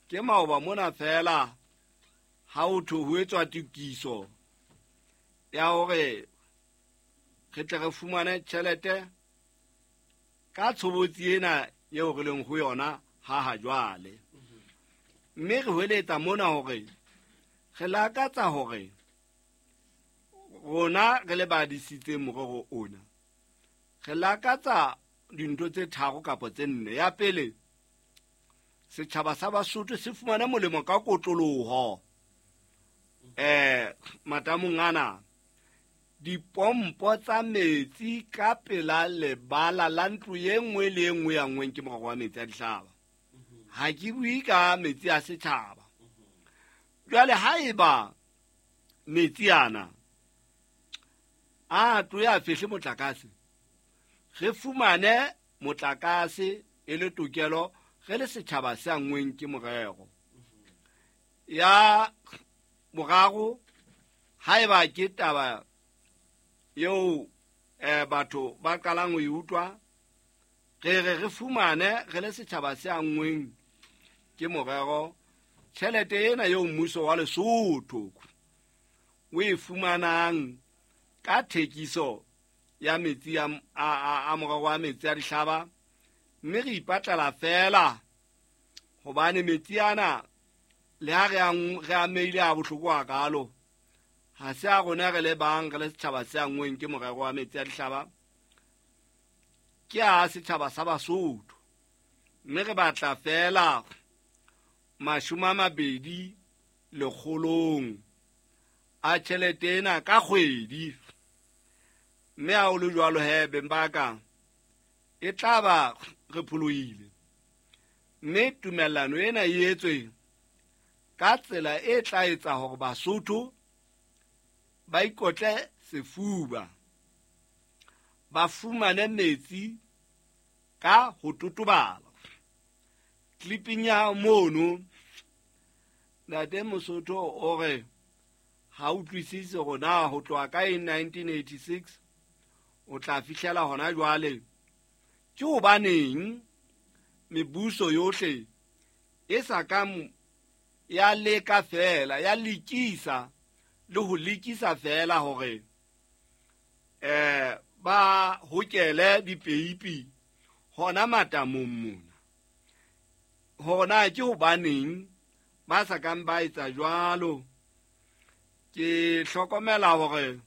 Ke maoba mona feela ha ho thwe ho etswa tokiso ya hore re tle re fumane tjhelete ka tshobotsi ena eo re leng ho yona ha ha jwale. Mme re hweletsa mona hore re lakatsa hore rona re le ba disitseng morero ona, re lakatsa dintho tse tharo kapa tse nne. Ya pele, setjhaba sa Basotho se fumane molemo ka kotloloho matamong ana. Dipompo tsa metsi ka pela lebala la ntlo e nngwe le e nngwe ya nngweng ke morero wa metsi a dihlaba. Ha ke bue ka metsi a setjhaba. Jwale haeba metsi ana a tlo ya fihle motlakase, re fumane motlakase e le tokelo re le setjhaba se anngweng ke morero. Ya boraro, haeba ke taba eo batho ba qalang ho e utlwa, re re re fumane re le setjhaba se anngweng ke morero tjhelete ena eo mmuso wa Lesotho o e fumanang ka thekiso ya metsi a morero wa metsi a dihlaba, mme re ipatlela feela hobane metsi ana le ha re amehile a bohloko hakalo, ha se a rona re le bang re le setjhaba se anngweng ke morero wa metsi a dihlaba, ke a setjhaba sa Basotho. Mme re batla feela 20 lekgolong a tjhelete ena ka kgwedi. Mme ha o le jwalo he beng ba ka, e tla ba re pholohile. Mme tumellano ena e etswe ka tsela e tla etsa hore Basotho ba ikotle sefuba, ba fumane metsi ka ho totobala. Clipping ya mono, Ntate Mosotho o re ha utlwisise hore na ho tloha ka 1986 o tla fihlela hona jwale ke hobaneng mebuso yohle e sa ka ya leka feela, ya lekisa le ho lekisa feela hore ba hokele dipeipi hona matamong mona. Hona ke hobaneng ba sa kang ba etsa jwalo. Ke hlokomela hore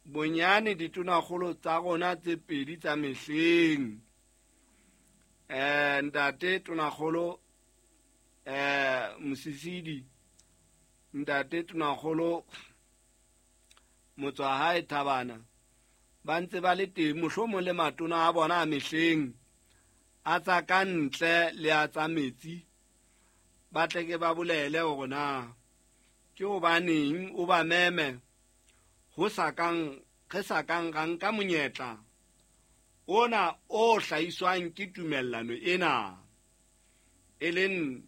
bonyane ditonakgolo tsa rona tse pedi tsa mehleng, ntate tonakgolo Mosisidi, ntate tonakgolo Motswahae Thabana, ba ntse ba le teng, mohlomong le matona a bona a mehleng a tsa ka ntle le a tsa metsi, ba tle ke ba bolele hore na ke hobaneng o ba meme ho sa kang re sa kang ra nka monyetla ona o hlahiswang ke tumellano ena, e leng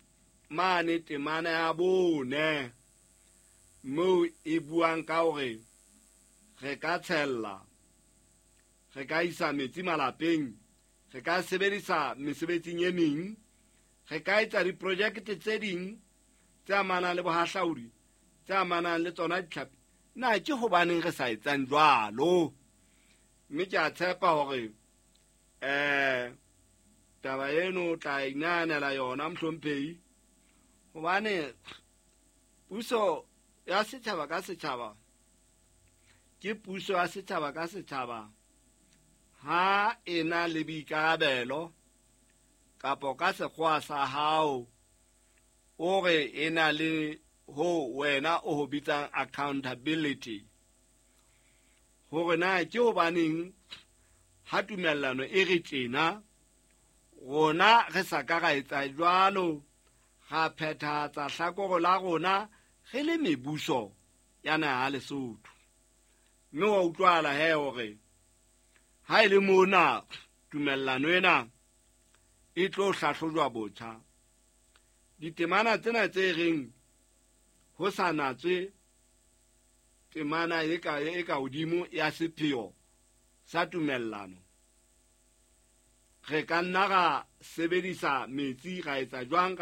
mane temana ya 4 moo e buang ka hore re ka tshella, re ka isa metsi malapeng, re ka sebedisa mesebetsing e meng, re ka etsa diprojekte tse ding tse amanang le bohahlaudi, tse amanang le tsona ditlhapi. Na ke hobaneng re sa etsang jwalo? Mme ke a tshepa hore taba eno o tla inahanela yona mohlomphehi, hobane puso ya setjhaba ka setjhaba ke puso ya setjhaba ka setjhaba ha e na le boikarabelo kapo ka sekgowa sa hao o re e na le ho wena o ho bitsang accountability, hore na ke hobaneng ha tumellano e re tjena rona re sa ka ra etsa jwalo, ra phethahatsa hlakoro la rona re le mebuso ya naha ya Lesotho. Mme wa utlwahala he hore ha e le mona tumellano ena e tlo hlahlojwa botjha, ditemana tsena tse reng ho sa natswe temana e ka hodimo ya sepheo sa tumellano, re ka nna ra sebedisa metsi ra etsa jwang, ra